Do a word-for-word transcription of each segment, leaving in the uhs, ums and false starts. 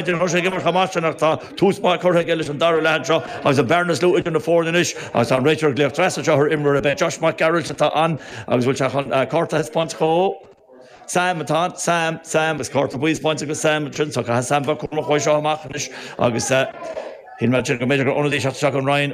Tá sé ag imirt chomh maith sin ach tá tús maith curtha aige leis an dara leath anseo agus an bearna is lú idir na foirne anois agus tá an réiteoir ag glaoch trasna anseo ar imreoir ar bith. Josh Mac Gearailt atá ann agus bhfuil sé chun cárta a thaispeáint dhó. Sam atá Sam Sam agus cárta buí spáinte go Sam sin so caithfidh Sam bheith cúramach uaidh seo amach anois agus Shíl mé go mb'fhéidir gur ionadaí teacht isteach an Rinn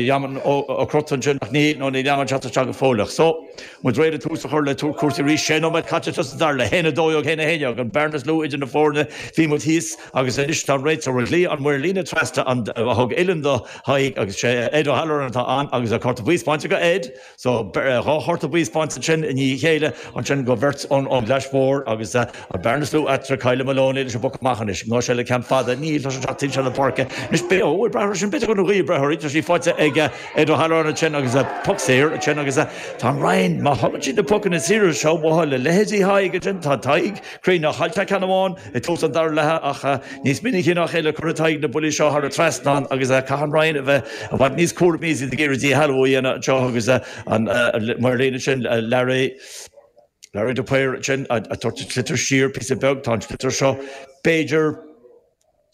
Yaman Ó Crot ansin ach ní nó níl Yaman teacht isteach go fóilleach. So muid réidh le tús a chur le cúrsaí arís sé nóiméad caite sa dara leath haon a dó dhéag haon a haon déag an bearna is lú idir na foirne bhí muid thíos agus anois tá an réiteoir ag glaoch an maor líne trasna an a thug uillinn do Thaidhg agus sé Ed O'Halloran atá ann agus a cárta buí spáinte go Ed so dhá chárta buí spáinte sin i ndiaidh a chéile ansin go bheirt ón ón gClais Mhór agus an bearna is lú eatarthu Kyla Maloney leis an bpoc amach anois ná sé le ceann fada níl tá sé teacht timpeall na páirce anois beo bhfuil breathnóir sin b'fhéidir go bhfuil breathnóirí tá sí faighte ag Ed O'Halloran ansin agus poc saor ansin agus tá an Rinn má thugann siad na pocanna saora seo uathu le leithéidí Thaidhg ansin tá Tadhg críonna chaill sé ceann amháin i dtús an dara leatha ach níos minicí ná a chéile cuirfidh Tadhg na buillí seo thar an trasnán agus caithfidh an Rinn a bheith i bhfad níos cúramaí is iad ag iarraidh díshealbhú a dhéanamh anseo agus an maor líne sin Larry Larry de Paor sin a tabhairt an sliotar siar píosa beag tá an sliotar seo b'fhéidir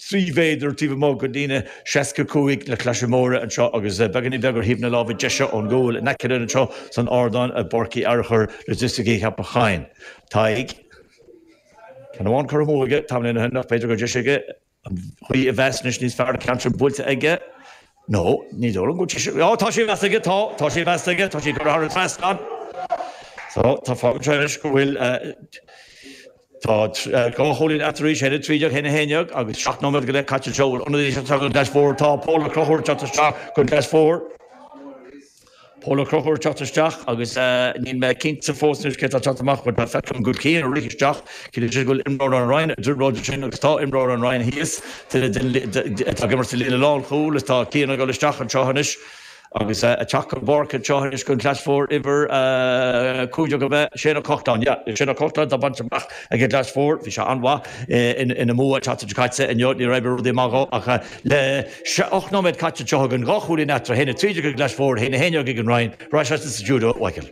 trí mhéadar taobh amuigh den líne seasca cúig na Claise Móire anseo agus beagáinín beag ar thaobh na láimhe deise ón gcúl in aice linn anseo san ardán i bPáirc Uí Fhearchair Logisticí Cheapach Choinn. Tadhg. Ceann amháin curtha amú aige tamaillín ó shin ach b'fhéidir gur deis aige an ghaoth a mheas anois níos fearr an ceann sin buailte aige. No, ní dóigh liom go bhfuil sé Á, tá sé measta aige, tá, tá sé measta aige, tá sé curtha thar an trasnán. So, tá fágann sé anois go bhfuil tá dhá chúilín eatarthu arís, haon a trí déag, haon a haon déag agus seacht nóiméad go leith caite anseo. Bhfuil ionadaí ag teacht ón gClais Mhór? Tá Pól Ó Conchúir ag teacht isteach don gClais Mhór. Pól Ó Conchúir ag teacht isteach agus níl mé cinnte fós anois cé atá ag teacht amach but tá feicim go bhfuil Cian ag rith isteach. Ciallaíonn sé go bhfuil imreoir an Rinn ag trioblóid ansin agus tá imreoir an Rinn thíos atá ag imirt sa líne lánchúil is tá Cian ag dul isteach anseo anois agus ag teacht chun páirce anseo anois don Chlais Mhór uimhir cúig déag ab ea Shane Ó Cochláin. Yeah, Shane Ó Cochláin atá bainte amach ag an gClais Mhór. Bhí sé an-mhaith ina mbua an tseachtain seo caite inniu. Níor oibrigh rudaí amach dhó ach le ocht nóiméad caite anseo againn dhá chúilín eatarthu, haon a trí déag ag an gClais Mhór, haon a haon déag ag an Rinn. Ar ais sa stiúideo, Mhichael.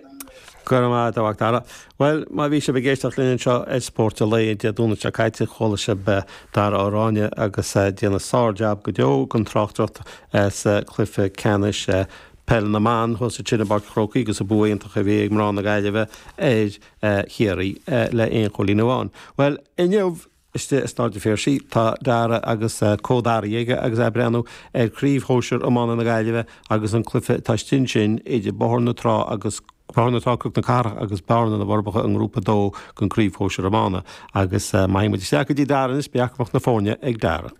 Go raibh maith agat, a Mhac Dara. Bhuel, má bhí sibh ag éisteacht linn anseo ar Spórt an Lae Dé Domhnaigh seo caite, chuala sibh Dara Ó Ráinne agus déanamh sár-jab go deo den tráchtaireacht sa chluiche ceannais peile na mban thuas ansin i bPáirc an Chrócaigh agus an bua iontach a bhí ag mná na Gaillimhe ar Chiarraí le aon chúilín amháin. Bhuel, inniu istigh i Staid an Phiarsaigh tá Dara agus comh-Daraí aige agus é ag breathnú ar Chraobh Shóisir Iomána na Gaillimhe agus an cluiche atá istigh ansin idir Bóthar na Trá agus Bóthar na Trá Cnoc na Cathrach agus Bearna na bhForbacha i nGrúpa a dó den Chraobh Shóisir Iomána. Agus má théann muid isteach go dtí Dara anois beidh acmhainn na foirne ag Dara.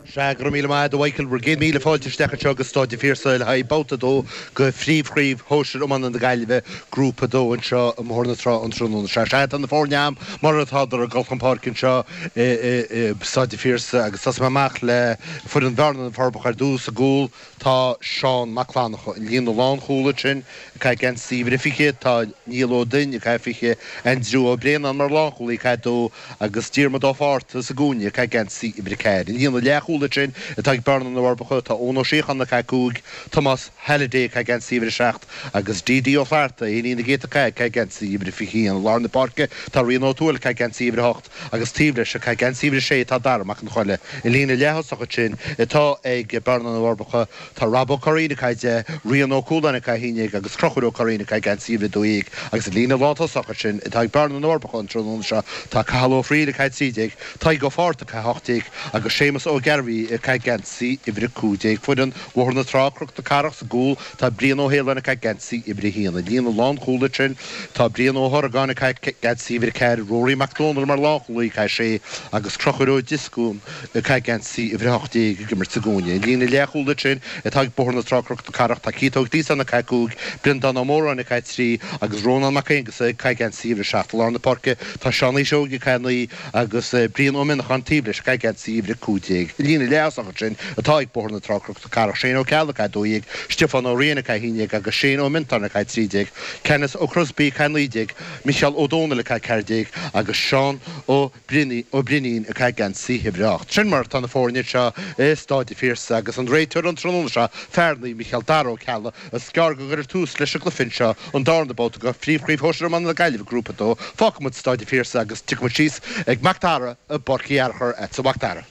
Sea, go raibh míle maith agat, a Mhichael. Bhur gcéad míle fáilte isteach anseo go Staid an Phiarsaigh le haghaidh Babhta a dó de Phríomhchraobh Shóisir Iomána na Gaillimhe, Grúpa a dó anseo i mBóthar na Trá an tráthnóna seo. Sea, tá na foirne a'm mar atádar ag dul chun páirce anseo i Staid an Phiarsaigh agus tosóidh mé amach le foireann Bhearna na bhForbacha ar dtús. I gcúl tá Seán Mac Fhlannchadha. An líne lánchúil ansin ag caitheamh geansaí uimhir a fiche tá Niall Ó Duinn ag caitheamh fiche, Aindriú Ó Braonáin mar lánchúlaí ag caitheamh dó agus Diarmuid Ó Fátharta sa gcúinne ag caitheamh geansaí uimhir a ceathair. An líne leathchúil ansin atá ag Bearna na bhForbacha tá Eoin Ó Síocháin ag caitheamh cúig, Tomás Halliday ag caitheamh geansaí uimhir a seacht agus D.D. Ó Flatharta, Éinín na gCéadta Cath ag caitheamh geansaí uimhir a fiche haon. I lár na páirce tá Rian Ó Tuathail ag caitheamh geansaí uimhir a hocht agus taobh leis ag caitheamh geansaí uimhir a sé tá Dara Mac an Choille. An líne leath-thosach ansin atá ag Bearna na bhForbacha tá Rob Ó Curraoin ag caitheamh deich, Rian Ó Cualáin ag caitheamh a haon déag agus Conchúr Ó Curraoin ag caitheamh geansaí uimhir a dó dhéag agus an líne lántosach ansin atá ag Bearna na bhForbacha an tráthnóna seo tá Cathal Ó Fríl ag caitheamh trí déag, Tadhg Ó Fátharta ag caitheamh a hocht déag agus Séamus Ó Gearbhaigh ag caitheamh geansaí uimhir a cúig déag. Foireann Bhóthar na Trá, Cnoc na Cathrach sa gcúl tá Brian Ó hAoláin ag caitheamh geansaí uimhir a haon. An líne lánchúil ansin tá Brian Ó hOrgáin ag caitheamh geansaí uimhir a ceathair, Rory Mac Dónaill mar lánchúlaí ag caitheamh sé agus Conchúr Ó Dioscún ag caitheamh geansaí uimhir a hocht déag ag imirt sa gcúinne. An líne leathchúil ansin atá ag Bóthar na Trá, Cnoc na Cathrach tá Keith Ó Gliasáin ag caitheamh cúig, Breandán Ó Móráin ag caitheamh trí agus Rónán Mac Aonghusa ag caitheamh geansaí uimhir a seacht. I lár na páirce tá Seán Uí Seoighe ag caitheamh naoi agus Brian Ó Mionnacháin taobh leis ag caitheamh geansaí uimhir a cúig déag. An líne Líne leaththosach ansin atá ag Bóthar na Trá Cnoc na Cathrach, Shane Ó Ceallaigh a dó dhéag, Stiofán Ó Riain a haon déag agus Shane Ó Mintáin a trí déag, Kenneth Ó Crosby a naoi déag, Micheál Ó Dónaill a ceathair déag agus Seán Ó Brinín a geansaí uimhir a hocht. Sin mar atá na foirne seo i Stáid an Phiarsaigh agus an réiteoir an tráthnóna seo, fear Naomh Micheál Dara Ó Ceallaigh. Is gearr go gcuirfear tús leis an gcluiche seo, an darna babhta de Phríomhchraobh Shóisir Iomána na Gaillimhe, Grúpa a dó. Fágfaidh muid Stáid an Phiarsaigh agus tiocfaidh muid síos ag Mac Dara i bPáirc Uí Fhearchair, a Mhac Dara.